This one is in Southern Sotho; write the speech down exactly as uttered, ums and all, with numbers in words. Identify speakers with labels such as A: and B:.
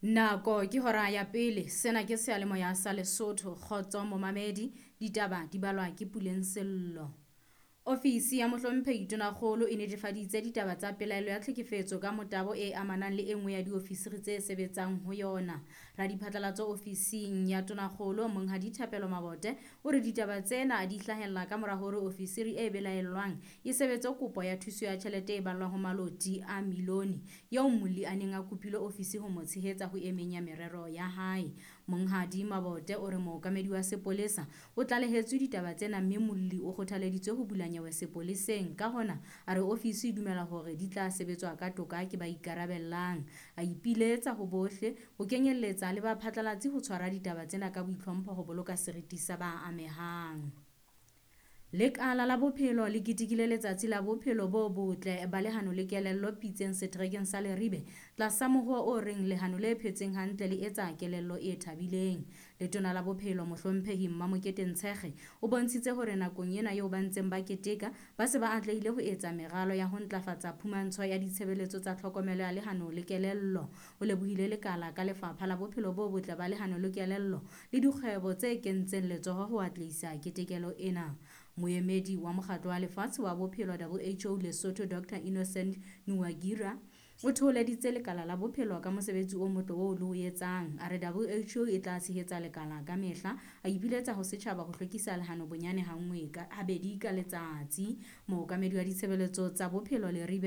A: Nako ke hora ya pele, sena ke seyalemoya sa Lesotho, kgotso momamedi, ditaba di balwa ke Puleng Sello. Ofisi ya mohlomphehi Tonakgolo e netefaditse ditaba tsa pelaelo ya tlhekefetso ka motabo e amanang le e nngwe ya diofisiri tse sebetsang ho yona. Radiphatlalatso ofising ya Tonakgolo Monghadi Thapelo Mabote o re ditaba tsena di hlahella ka mora hore ofisiri e belaellwang e sebetse kopo ya thuso ya tjhelete e ballwang ho maloti a milione eo molli a neng a kopile ofisi ho mo tshehetsa ho e meng ya merero ya hae. Monghadi Mabote o re mookamedi wa sepolesa o tlalehetswe ditaba tsena mme molli o kgothaleditswe ho bula nyewe sepoleseng. Ka hona a re ofisi e dumela hore di tla sebetswa ka toka ke ba ikarabellang. A ipiletsa ho bohle ho kenyelletsa le baphatlalatsi ho tshwara ditaba tsena ka boitlhompho ho boloka seriti sa ba amehang. Lekala la bophelo le ketekile letsatsi la bophelo bo botle ba lehano le kelello Pitseng seterekeng sa Leribe tlasa mohoo o reng lehano le phetseng hantle le etsa kelello e thabileng. Letona la bophelo mohlomphehi Mmamokete Ntshekge o bontshitse hore nakong ena eo ba ntseng ba keteka ba se ba atlehile ho etsa meralo ya ho ntlafatsa phumantsho ya ditshebeletso tsa tlhokomelo ya lehano le kelello. O lebohile lekala ka lefapha la bophelo bo botle ba lehano le kelello le dikgwebo tse kentseng letsoho ho atlehisa ketekelo ena. Moemedi wa Mokgatlo wa Lefatshe wa Bophelo W H O Lesotho Doctor Innocent Nuwagira o thoholeditse lekala la bophelo ka mosebetsi o motle oo le o etsang. A re W H O e tla tshehetsa lekala ka mehla. A ipiletsa ho setjhaba ho hlwekisa lehano bonyane ha nngwe ka habedi ka letsatsi. Mookamedi wa ditshebeletso tsa bophelo Leribe